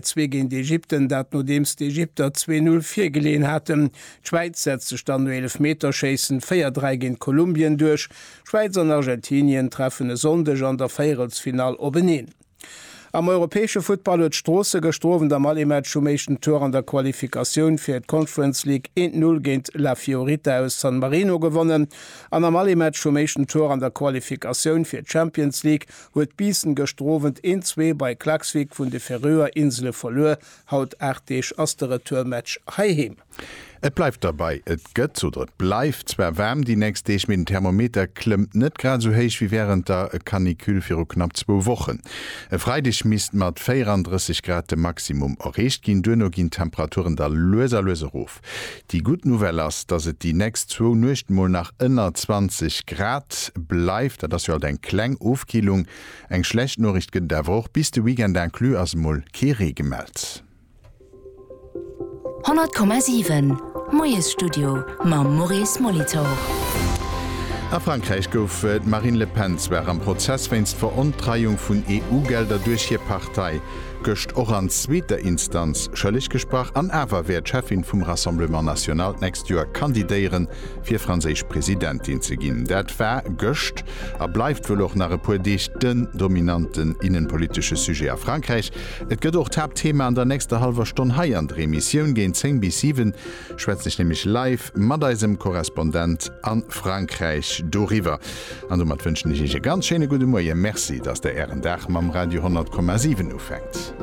2 géint Ägypten, dat nodeems d'Ägypter 2, 0 virgeleeën haten. D'Schwäiz setzt sech dann no Eelefmeterschéissen 4, 3 géint Kolumbien duerch. Schwäiz an Argentinien treffen e Sonndeg an der Véierelsfinall openeen. Am europäesche Futtball huet Stroosse gëschter Owend am Aller-Match vum éischten Tour an der Qualifikatioun fir d'Conference League 1, 0 géint La Fiorita aus San Marino gewonnen. An am Aller-Match vum éischten Tour an der Qualifikatioun fir d'Champions League huet Biissen gëschter Owend 1, 2 bei Klaksvik vun de Färöer Insele verluer. Haut 8 Deeg ass de Retourmatch heiheem. Et bleift derbei, et gëtt oder et bleift zwar waarm déi nächst Deeg, mee den Thermometer klëmmt net grad esou héich wéi wärend der Canicule viru knapp zwou Wochen. E Freideg misst mat 34 Grad de Maximum erreecht ginn, duerno ginn d'Temperaturen da lues a lues erof. Déi gutt Nouvelle ass, dass et déi nächst zwou Nuechten mol nach ënner 20 Grad bleift. Dat ass jo alt eng kleng Ofkillung. Eng schlecht Noriicht gëtt et awer och, Bis de Weekend inclus ass emol kee Ree gemellt. 100,7 Moiesstudio mam Maurice Molitor. A Frankräich gouf d'Marine Le Pen zwar am Prozess wéinst Verontreiung vun EU-Gelder duerch hir Partei gëscht och an zweeter Instanz schëlleg gesprach, an awer wäert d'Cheffin vum Rassemblement National d'nächst Joer kandidéieren, fir franséisch Presidentin ze ginn. Dat war gëscht a bleift wuel och nach e puer Deeg den dominanten innenpolitesche Sujet a Frankräich. Et gëtt och d'Haaptthema an der nächster hallwer Stonn hei an der Emissioun. Géint 10 bis 7 schwätzen ech nämlech live mat eisem Korrespondent a Frankräich doriwwer. An domat wënschen ech Iech e ganz schéine gudde Moien. Merci, dass Der Ären Dag mam Radio 100,7 ufänkt.